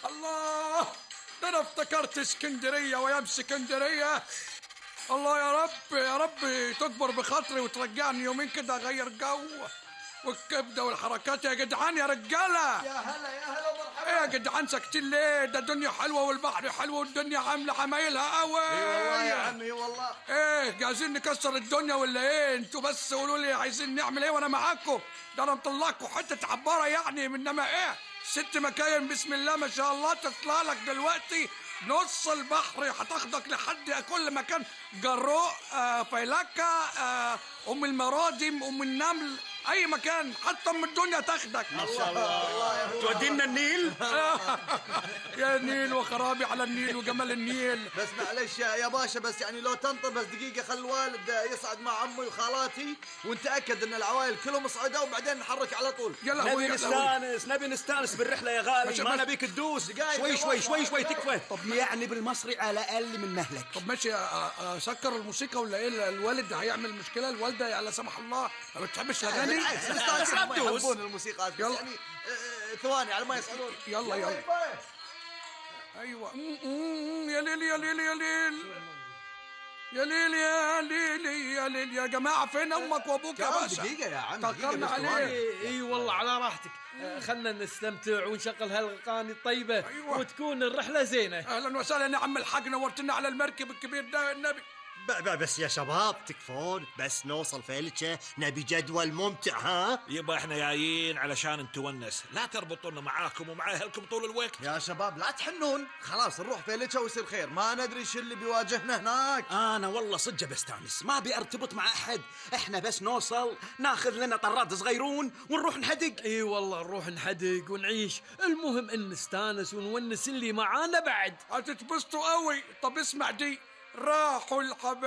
الله، ده انا افتكرت اسكندرية وايام اسكندرية. الله يا رب يا رب تكبر بخاطري وترجعني يومين كده اغير جو، والكبده والحركات يا جدعان يا رجاله. يا هلا يا هلا مرحبا. ايه يا جدعان ساكتين ليه؟ ده الدنيا حلوه والبحر حلو والدنيا عامله عمايلها قوي. اي والله يا عمي والله. ايه جاهزين نكسر الدنيا ولا ايه؟ انتوا بس قولوا لي عايزين نعمل ايه وانا معاكم. ده انا مطلعكم حته عباره يعني، انما ايه 6 مكاين بسم الله ما شاء الله تطلع لك دلوقتي نص البحر، هتاخدك لحد كل مكان، جروء فيلكة ام المرادم ام النمل، اي مكان حتى ام الدنيا تاخدك. ما شاء الله. تودينا النيل. يا نيل وخرابي على النيل وجمال النيل. بس معلش يا باشا، بس يعني لو تنطر بس دقيقة، خل الوالد يصعد مع عمي وخالاتي ونتأكد ان العوائل كلهم صعدوا وبعدين نحرك على طول. نبي نستانس بالرحلة يا غالي، ما نبيك تدوس. شوي تكفى. طب يعني بالمصري على اقل من مهلك. طب ماشي سكر الموسيقى ولا ايه؟ الوالد هيعمل مشكلة، الوالدة لا سمح الله ما بتحبش الاغاني. يحبون الموسيقى بس يعني ثواني على ما يسألون. يلا ايوه. يا ليل يا ليل يا ليل يا ليل يا ليل يا ليل يا جماعة، فين امك وابوك يا باشا؟ دقيقة يا عم، تأخرنا عليه. اي والله على راحتك. خلنا نستمتع ونشغل هالاغاني الطيبة. أيوة. وتكون الرحلة زينة. اهلا وسهلا يا عم الحاج، نورتنا على المركب الكبير ده النبي. بس يا شباب تكفون، بس نوصل فيلتشة نبي جدول ممتع. ها يبا احنا جايين علشان نتونس، لا تربطونا معاكم ومع اهلكم طول الوقت. يا شباب لا تحنون، خلاص نروح فيلتشة ويصير خير، ما ندري شو اللي بيواجهنا هناك. انا والله صدق بستانس، ما ارتبط مع احد، احنا بس نوصل ناخذ لنا طراد صغيرون ونروح نحدق. اي والله نروح نحدق ونعيش، المهم ان نستانس ونونس اللي معانا بعد. هتتبسطوا قوي. طب اسمع دي، راحوا الحبايب